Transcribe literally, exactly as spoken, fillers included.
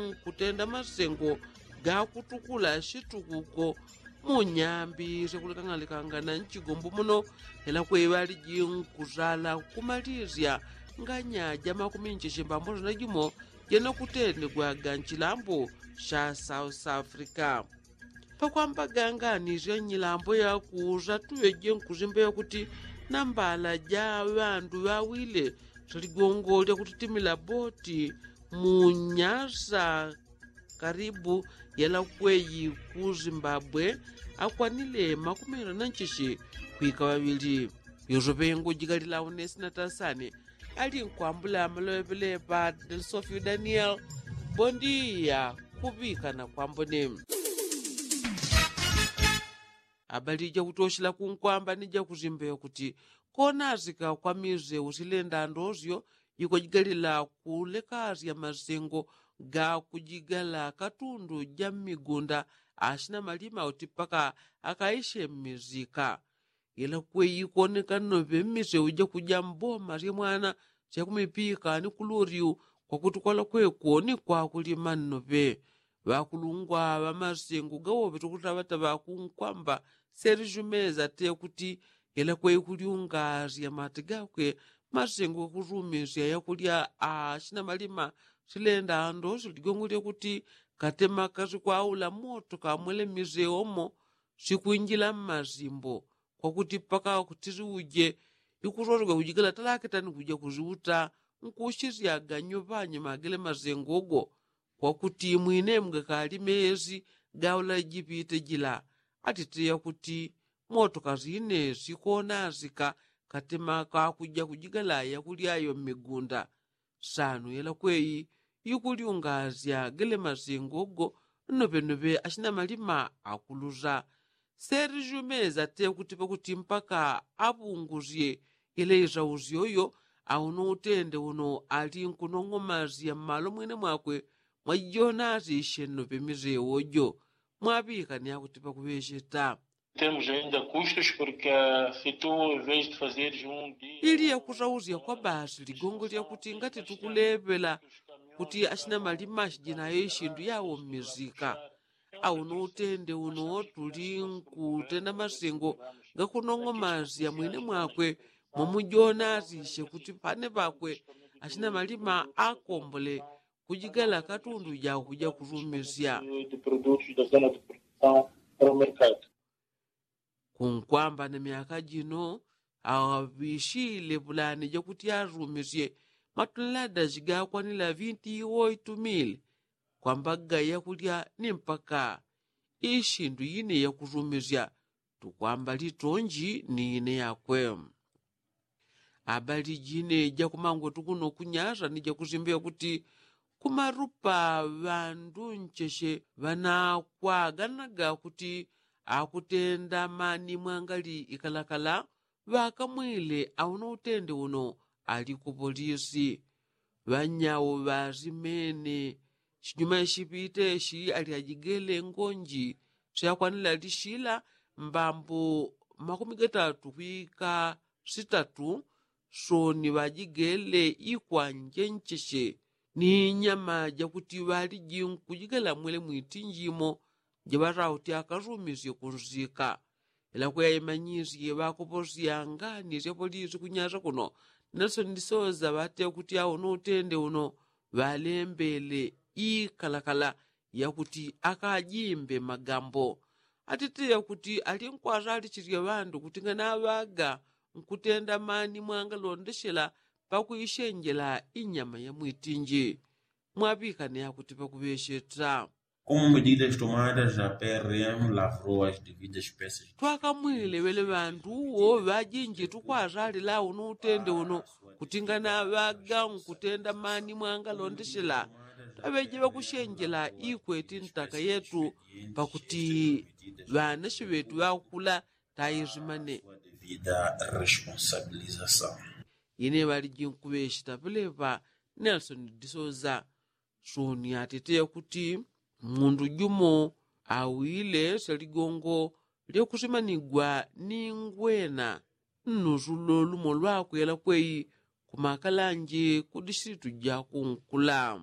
nkutenda masengo gakutukula situkuko munyambi syakulekang'alekangana nchigombo muno. Ela kwei ŵaliji nkuzala kumalizya nganya ja makuminche shimbambo sina jimo jena kutendegwaga nchilambo sha south africa. Pakwamba ganganizya nyilambo yakuza tuŵeje nkuzimba yakuti nambala ja ŵandu ŵawile saligongo lyakutitimila boti munyasa karibu yela kweyi ku zimbabwe akwanile makumira na nchishi kwika ŵaŵili. Yosopengo jikalila unesina tasani ali nkwambula maloŵepeleŵa delsofio daniel. Bondiya kuŵikana kwambone. Abali jakutoshela kunkwamba ni jakuzimba yakuti konasika kwa mize usilenda ndosyo jikwajigalila kulekasya masengo gakujigala katundu ja mmigunda asina malima uti paka akaishe mmizika. Ila kweyi koneka nnoŵe mmiseu jakuja mboma syemwana syakumipika ni kuluryu kwakuti kwala kweko ni kwakulima nnoŵe. Ŵakulungwa ŵamasengo gawoŵe tukutaŵataŵa kunkwamba serjumeza te kuti ila kweyi kulyunga syamati gakwe masengo gakusumisya yakulya asina malima silenda ndo siligongo lyakuti katema kasikwaula moto kamwele mmiseu omo sikwinjila mmasimbo kwakuti paka kutisiuje. Ikusosogwa kujikala talakitani kuja kusiuta nkusisyaga nyuŵanye magele masengo go kwakuti mwine mgakali mesi gaula jipite jila. Atiteya kuti moto kasine sikonasika katema kakuja kujigala yakulyayo mmigunda. Sanu yela kweyi ikulyungasya gele masengo go nnoŵennoŵe asina malima akulusa. Serjumeza te kuti pakuti mpaka aŵungusye yela isausyoyo. Auno utende uno ali nkunong'omasya mmalo mwine mwakwe mwajijonasisye nnoŵe misewo jo. Mwaŵikani akuti pakuŵecheta. Temos ainda custos porque se tu em vez de fazeres um dia ili yakusausya kwa basi ligongo lyakuti ngati tukuleŵela kuti asina malima ashijinayo isindu yawo mmizika. Auno utende uno tuli nkutenda masengo gakunong'omasya mwine mwakwe mwamujonasisye kuti pane ŵakwe asina malima akombole kujigala katundu jakuja kusumisya. Kunkwamba na myaka jino aŵishile pulani jakuti asumisye matunlada jigakwanila vinti oitu mili kwambaga yakulya ni mpaka isindu ine yakusumisya tukwamba litonji ni ine yakwe. Abali jine jakumangwetu kuno kunyasa ni jakusimba yakuti kumarupa ŵandu ncheshe ŵanakwaganaga kuti akutenda mani mwangali ikalakala ŵakamwile auno utende uno ali ku polisi. Ŵanyau ŵasimene chinyuma ishipite ishi ali ajigele ngonji syakwanila lishila mbambo makumi gatatu kwika sitatu. Soni ŵajigele ikwanje ncheshe ni nyama jakuti ŵaliji nkujigela mwele mwitinji imo jaŵatauti akasumisye kunsika. Ila kweya imanyisye ŵakoposya ngani sya polisi kunyasa kuno nelson ndisoza ŵate kuti auno utende uno ŵalembele ikalakala yakuti akajimbe magambo. Atite yakuti ali nkwasalisisya ŵandu kuti nganaŵaga nkutenda mani mwangalondesela pakwishenjela inyama ya mwitinji. Mwaŵikane akuti pakuŵesheta. Como medidas tomadas a prm lavrou as devidas peças. Twakamwile ŵele ŵandu uwo ŵajinji tukwazalila uno utende uno kuti nganaŵaga nkutenda mani mwangalondesela taŵeje ŵakushenjela ikweti ntaka yetu pakuti ŵanashi ŵetu ŵakukula tayizimane. Ine ŵaliji nkuŵesheta ŵeleŵa nelson disoza. Soni atete yakuti mundu jumo awile syaligongo lyakusimanigwa ni ngwena nnusulo lumo lwakwela kwei kumakalanje ku dishilitu jakunkula.